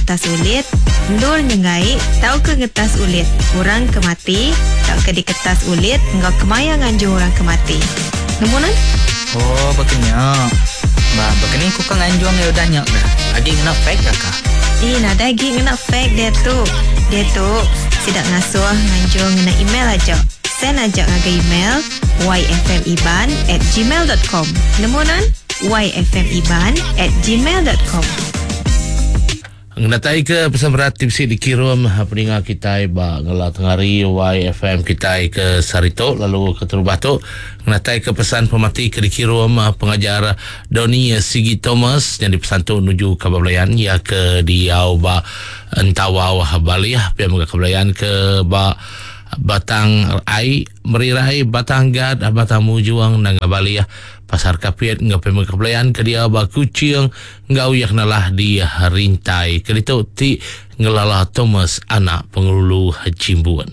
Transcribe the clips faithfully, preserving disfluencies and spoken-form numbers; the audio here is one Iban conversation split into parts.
ngetas ulit, endur nyenggai tauka ngetas ulit orang ke mati tauka diketas ulit enggau kemaya nganjung orang ke mati. Nemu nan? Oh, bakanya. Ba, bakani ku ka nganjung ya udah nya dah. Agi ngena fax ka? Eh, nadai agi ngena fax dia tu. Dia tu sidak ngasuh nganjung ngena email aja. Send aja ngagai email yfmiban at gmail dot com. Nemu nan? yfmiban at gmail dot com. Ngenatai ke pesan berat tipsi dikirim peninga kita ba ngela tengari Y F M kita ke Sarito lalu ke terubah tu ngenatai ke pesan pemati ke dikirim pengajar Donny Sigi Thomas yang dipesan tu menuju ke Belayan ya ke diau ba Entawau Bali pia mega ke Belayan ke ba Batang Ai Merirai Batang Gad Batang Mujuang Nanga Bali Pasar Kapit ngau pemeg kebelayan ke dia ba Kuching ngau yak nalah di Rintai ke ditu ti ngelala Thomas anak Pengulu Jimbun.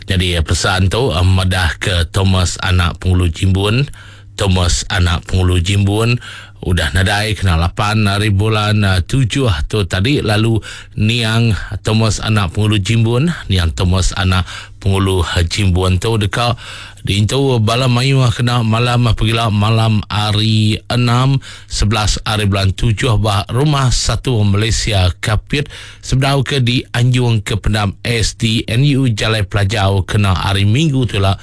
Jadi pesan tu madah ke Thomas anak Pengulu Jimbun, Thomas anak Pengulu Jimbun udah nadai kena lapan hari bulan tujuh tu tadi lalu niang Thomas anak Pengulu Jimbun, niang Thomas anak Pengulu Jimbun tu deka diintu bala mayuh kena malam pegila malam hari enam sebelas hari bulan tujuh bah Rumah Satu Malaysia Kapit sebedau ke di Anjung ke Pendam S D N U Jalai Pelajau kena hari Minggu tu lah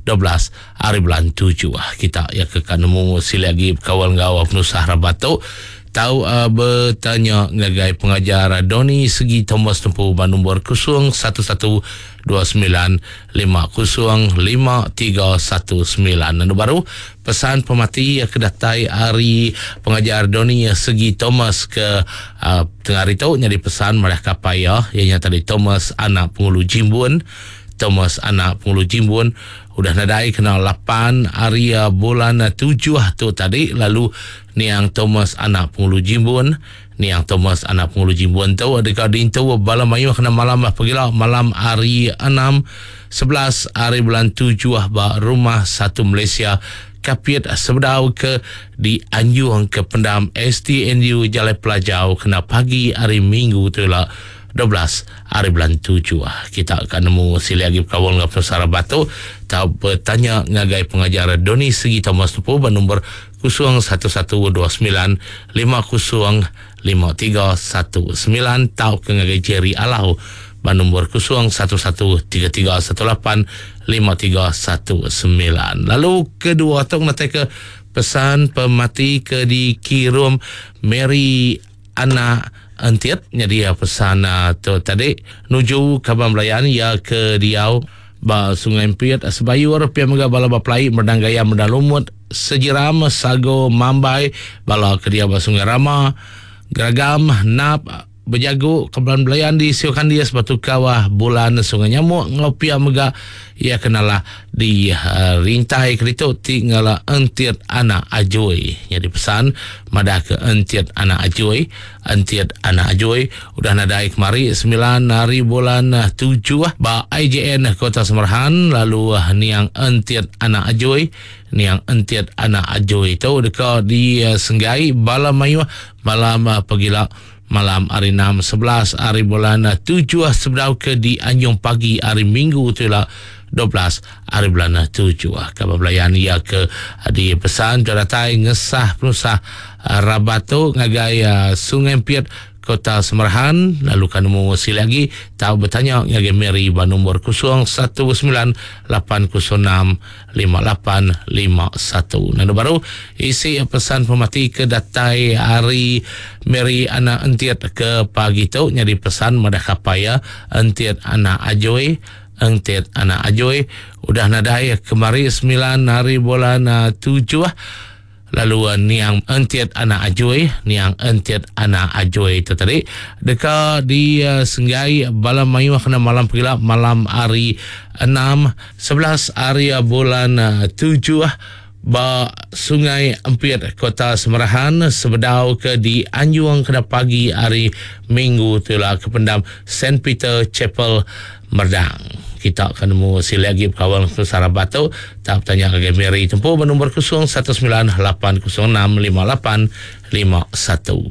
dua belas hari bulan tujuh. Kita ya ke nemu sila lagi berkawal ngau penusah rabat tu tahu uh, bertanya ngagai pengajar Donny Segi Thomas tempuh ban nombor kosong satu satu dua sembilan lima kosong lima tiga satu sembilan. Lalu baru pesan pemati ke datai hari pengajar Donny Segi Thomas ke uh, tengah hari tu jadi pesan marah kapaya ianya tadi Thomas anak Pengulu Jimbun. Thomas anak Pengulu Jimbun udah nadai kena lapan hari bulan tujuh tu tadi lalu niang Thomas anak Pengulu Jimbun, niang Thomas anak Pengulu Jimbun tu dekat dintu bala mayuh kena malam pergilah malam hari enam sebelas hari bulan tujuh ba Rumah Satu Malaysia Kapit sebedau ke di Anjung ke Pendam S T N U Jalai Pelajau kena pagi hari Minggu tu lah dua belas hari bulan tujuh. Kita akan nemu sila lagi berkawal dengan pesara batu tahu bertanya ngagai pengajar Donny Segi Thomas Tupu bernombor kosong satu satu dua sembilan lima kosong lima tiga satu sembilan tahu ke ngagai Jerry Alau bernombor kosong satu satu tiga tiga satu lapan lima tiga satu sembilan. Lalu kedua tu nak ke pesan pemati ke dikirim Mary anak Entiat jadi pesan tu tadi nuju Kabang Belayan ya ke diau ba Sungai Empiet Sebayur pia mega bala baplai Merdang Gaya Merdang Lumut Sejiram Sago Mambai bala ke dia ba Sungai Rama Geragam Nap Bejagu Kebelan Belayan di Siukan dia Batu Kawah Bulan Sungai Nyamuk ngopia mega ia kenalah di uh, rintai kerito tinggal Entiat anak Ajoi. Jadi pesan madah ke Entiat anak Ajoi, Entiat anak Ajoi udah nadai kemari sembilan hari bulan tujuh ba I J N Kota Semerahan lalu uh, niang Entiat anak Ajoi, niang Entiat anak Ajoi itu dekat di uh, Senggai bala mayuh malam uh, pegila malam hari enam sebelas hari bulan tujuh sebedau ke di Anjung pagi hari Minggu tu lah dua belas hari bulan tujuh. Kabar belayan ia ke di pesan datai ngesah penusah rabat tu ngagai Sungai Empiet Kota Semerahan lalu kan nemu sila lagi tahu bertanya ngagai Mary ba nombor kosong satu sembilan lapan kosong enam lima lapan lima satu. Lalu baru isi pesan pemati ke datai hari Mary anak Entiat ke pagi tu nyadi pesan madah kapaya Entiat anak Ajoi, Entiat anak Ajoi udah nadai kemari sembilan hari bulan tujuh. Lalu uh, niang Entiat anak Ajoi, niang Entiat anak Ajoi itu tadi dekat di uh, Senggai bala mayuh kena malam pegila malam hari enam sebelas hari bulan uh, tujuh ba Sungai Empiet Kota Semerahan sebedau ke di Anjung kena pagi hari Minggu tu lah ke pendam Saint Peter Chapel Merdang. Kita akan nemu sila lagi berkawan ke Sarah Batu. Tak bertanya ke Mary tempuh bernombor kosong satu sembilan lapan kosong enam lima lapan lima satu.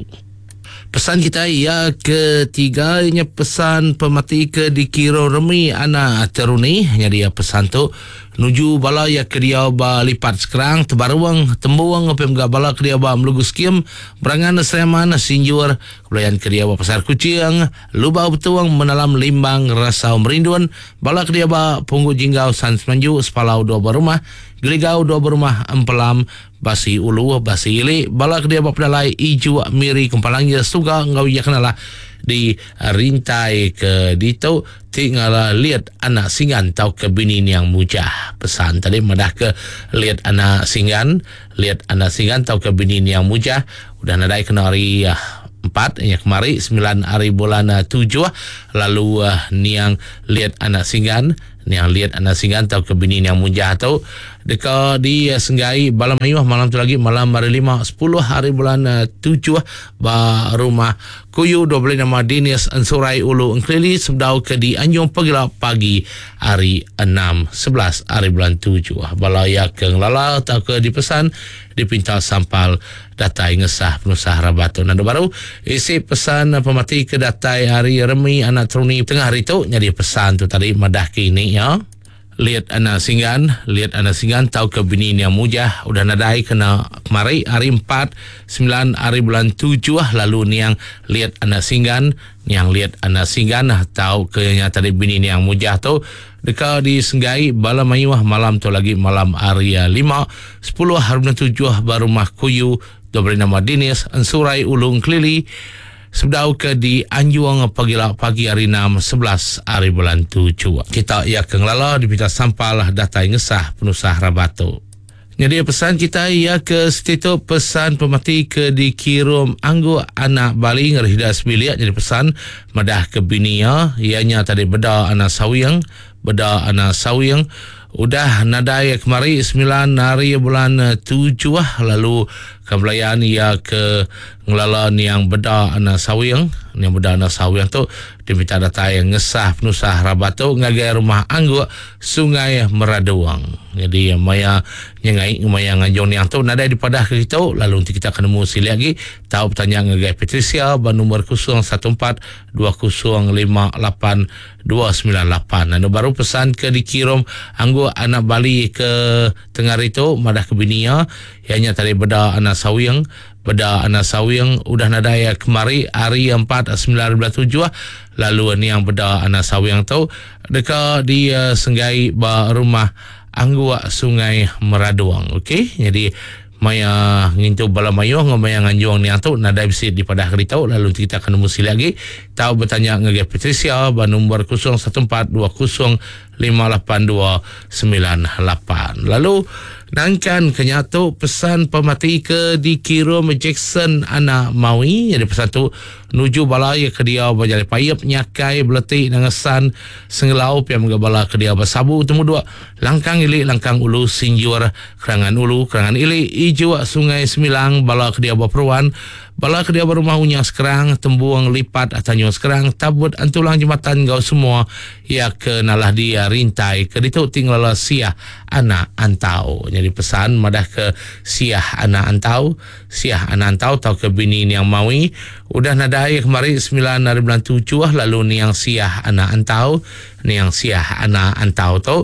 Pesan kita ya ketiga nya pesan pemati ke dikira remi anak teruni. Jadi ya pesan tu nuju bala ya ke dia ba lipat sekarang tebaruang tembuang apa mga bala ke dia ba melugu skim berangan Sleman Sinjur kebelayan ke dia ba Pasar Kucing Lubau Betuang Menalam Limbang Rasau Merindun bala ke dia ba Punggu Jinggau San Semanju Sepalau dua berumah Geligau dua berumah Empelam Basi Ulu Basi Ili bala ke dia ba Pedalai Iju Miri Kempalang ya Suga ngau ya kenalah di rintai ke ditu tinggal lihat anak singgan tau ke bini yang mujah. Pesan tadi madah ke lihat anak singgan, lihat anak singgan tau ke bini yang mujah udah nadai kena hari uh, empat ya kemari sembilan hari bulan uh, tujuh lalu uh, niang lihat anak singgan, niang lihat anak singgan tau ke bini yang mujah tu deka di uh, Senggai balam mayuh malam tu lagi malam hari lima sepuluh hari bulan uh, tujuh ba rumah Kuyu dua belas nama Dinis Ensurai Ulu Engkelili sebdau ke di Anjung Pegila pagi hari enam sebelas hari bulan tujuh. Bala ya ke ngelala atau ke dipesan dipinta sampal datai ngesah penusah rabatu. Nanda baru isi pesan pemati ke datai hari remi anak teruni tengah hari tu jadi pesan tu tadi madah kini ya. Lihat anak singgan, lihat anak singgan tau ke bini yang mujah udah nadai kena kemari hari empat sembilan hari bulan tujuh lalu niang lihat anak singgan, niang lihat anak singgan tau ke yang tadi bini yang mujah tu deka disenggai bala mayuh malam tu lagi malam hari lima sepuluh hari bulan tujuh baru rumah Kuyu dua belas nama Dinis Ensurai Ulung Kelili sebdau ke di Anjuang pagi pagi hari enam sebelas hari bulan tujuh. Kita ya ke ngelala dipinta sampal datai ngesah penusah rabatu. Jadi pesan kita ya ke setitu pesan pemati ke dikirum anggu anak Bali ngerihda sebiliak jadi pesan madah ke bini ya ianya tadi beda anak sawiang beda anak sawiang udah nadai kemari sembilan hari bulan tujuh lalu kebelayan ia ke ngelala niang beda anak sawiang niang beda anak sawiang tu diminta datai ngesah penusah rabatu ngagai rumah angguk Sungai Meraduang. Jadi maya nyengai maya ngajong niang tu nadai dipadah ke kita lalu nanti kita akan nemu sili lagi tahu bertanya ngagai Patricia ba nombor kosong satu empat dua kosong lima lapan dua sembilan lapan. Lalu baru pesan ke dikirim anggu anak Bali ke tengah itu madah ke binia ianya tadi beda anak sawiang beda anak sawiang udah nadai kemari hari empat sembilan bulan tujuh lalu ni yang beda anak sawiang tu deka di uh, Senggai ba rumah Angguak Sungai Meraduang. Okey, jadi maya ngintu bala mayuh ngau maya nganjung ni tu nadai bisi di padah kerita lalu kita akan nemu sili lagi tahu bertanya ngagai Patricia ba nombor kosong satu empat dua kosong lima lapan dua sembilan lapan. Lalu nangkan kenyatu pesan pemati ke dikirim Jackson anak Maui jadi pesan tu nuju bala ya ke dia berjalan payep nyakai beletik nangesan senggelau piam ke bala ke dia bersabu temu dua langkang ili langkang ulu sinjur kerangan ulu kerangan ili ijo Sungai Semilang bala ke dia berperuan bala ke dia berumah unya sekarang tembuang lipat Tanjung sekarang tabut antulang jembatan gau semua ya ke nalah dia rintai ke ditu tinggal siah anak antau. Jadi pesan madah ke siah anak antau siah anak antau tau ke bini yang maui udah nadai kemari sembilan hari bulan tujuh lalu niang siah anak antau niang siah anak antau tu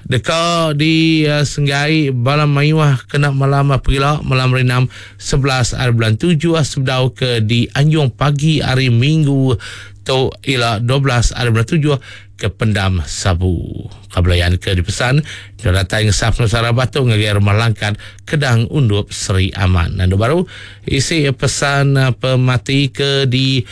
deka di uh, Senggai balam mayuah kena malam perila malam hari enam sebelas hari bulan tujuh sebdau ke di Anjung pagi hari Minggu tu ila dua belas hari bulan tujuh ke Pendam Sabu. Kabelayan ke dipesan datang ngesaf Nusara Batu ngagai rumah Langkat Kedang Undup Seri Aman. Dan baru isi pesan pemati ke di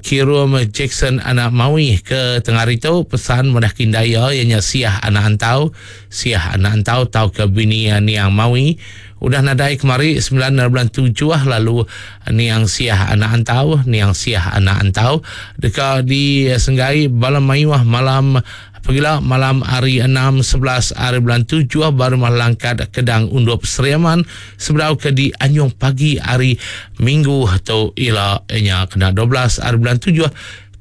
kirum Jackson anak Maui ke tengah itu pesan madah kindaya ianya siah anak antau siah anak antau tau ke bini niang Maui udah nadai kemari sembilan bulan tujuh lalu niang siah anak antau niang siah anak antau deka di Senggai balam mayuah malam Pergilah malam hari enam sebelas hari bulan tujuh baru Langkat Kedang Undup Seri Aman seberau ke di Anjung pagi hari Minggu atau ila nya kena dua belas hari bulan tujuh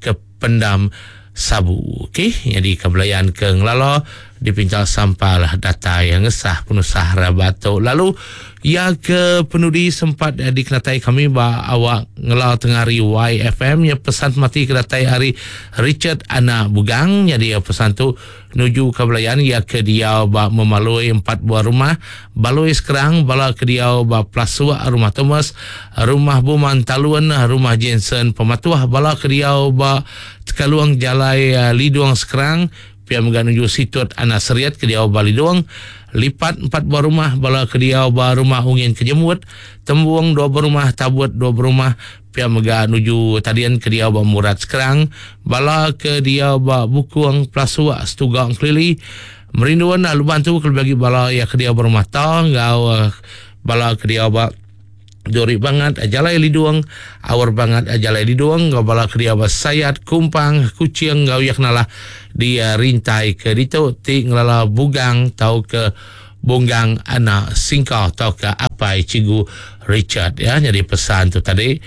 ke Pendam Sabu. Okey, jadi kebelayan ke Ngelala Dipinta sampal datai ngesah penusah rabat tu. Lalu ya ke penudi sempat eh, dikenatai kami ba awak ngela tengah hari Y F M ya pesan mati ke datai hari Richard Anak Bugang. Jadi pesan tu nuju ke belayan ya ke dia ba memalui empat buah rumah Balui Sekerang, bala ke dia ba Plasuk rumah Thomas, rumah Buman Talun, rumah Jensen Pematuah, bala ke dia ba Tekaluang Jalai Lidung Sekerang, pia mega nuju situt Anak Seriat ke dia ba Lidung, lipat empat buah rumah bala ke dia ba rumah Ungin Kejemut, Tembuang dua buah rumah, Tabut dua buah rumah, pia mega nuju tadian ke dia ba Murat Sekerang, bala ke dia ba Bukung Plasuk Setugang Kelili, merinduan luban tu kelebih lagi bala ya ke dia ba rumah Tang ngau bala ke dia ba Duri banget Jalai Lidung, awar banget Jalai Lidung, ngau bala ke dia ba Sayat Kumpang Kuching ngau ya kenalah di rintai ke ditu ti ngelala Bugang tau ke Bunggang Anak Singka tau ke apai Cikgu Richard ya. Jadi pesan tu tadi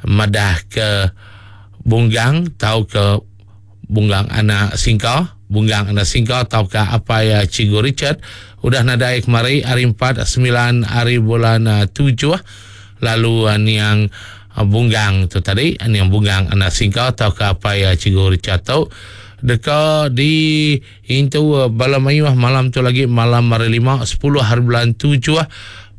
madah ke Bunggang tau ke Bunggang Anak Singka, Bunggang Anak Singka tau ke apai Cikgu Richard udah nadai kemari hari empat sembilan hari bulan tujuh. Lalu niang Bunggang tu tadi, niang Bunggang Anak Singka tau ke apai Cikgu Richard tu deka di intu bala mayuh malam tu lagi malam hari lima sepuluh hari bulan tujuh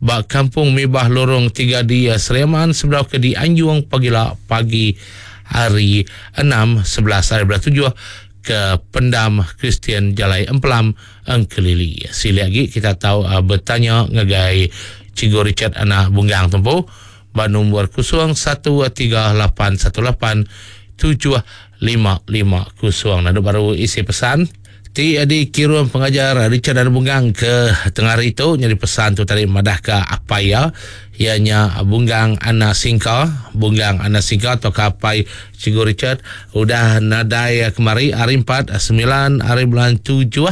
ba Kampung Mibah Lorong tiga di Seriaman sebelah ke di Anjung pagila pagi hari enam sebelas hari bulan tujuh ke Pendam Kristian Jalai Empelam Engkelili. Sili lagi kita tahu uh, bertanya ngagai Cikgu Richard Anak Bunggang tempo ba nombor kosong satu tiga lapan satu lapan tujuh lima lima kosong. Nadu baru isi pesan ti di kirim pengajar Richard Anak Bunggang ke tengah hari tu. Jadi pesan tu tadi madah ke apa ya ianya Bunggang Anak Singka, Bunggang Anak Singka atau kapai Cikgu Richard udah nadai kemari hari empat sembilan hari bulan tujuh.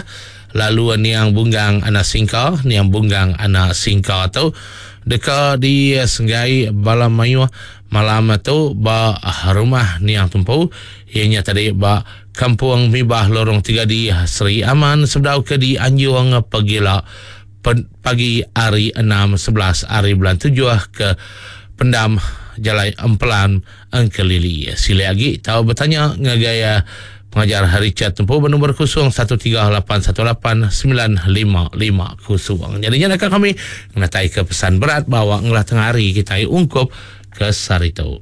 Lalu niang Bunggang Anak Singka, niang Bunggang Anak Singka tu deka di Senggai bala mayuh malam tu ba rumah niang tumpu ianya tadi ba Kampung Mibah Lorong tiga di Seri Aman sebedau ke di Anjung pegila pagi hari enam sebelas hari bulan tujuh ke Pendam Jalai Empelan Engkelili. Sila lagi tahu bertanya ngagai pengajar Richard tempuh bernombor kosong satu tiga lapan satu lapan sembilan lima lima kosong. Jadinya nak kami menatai ke pesan berat bahawa ngelah tengah hari kita ungkup ke Sarito.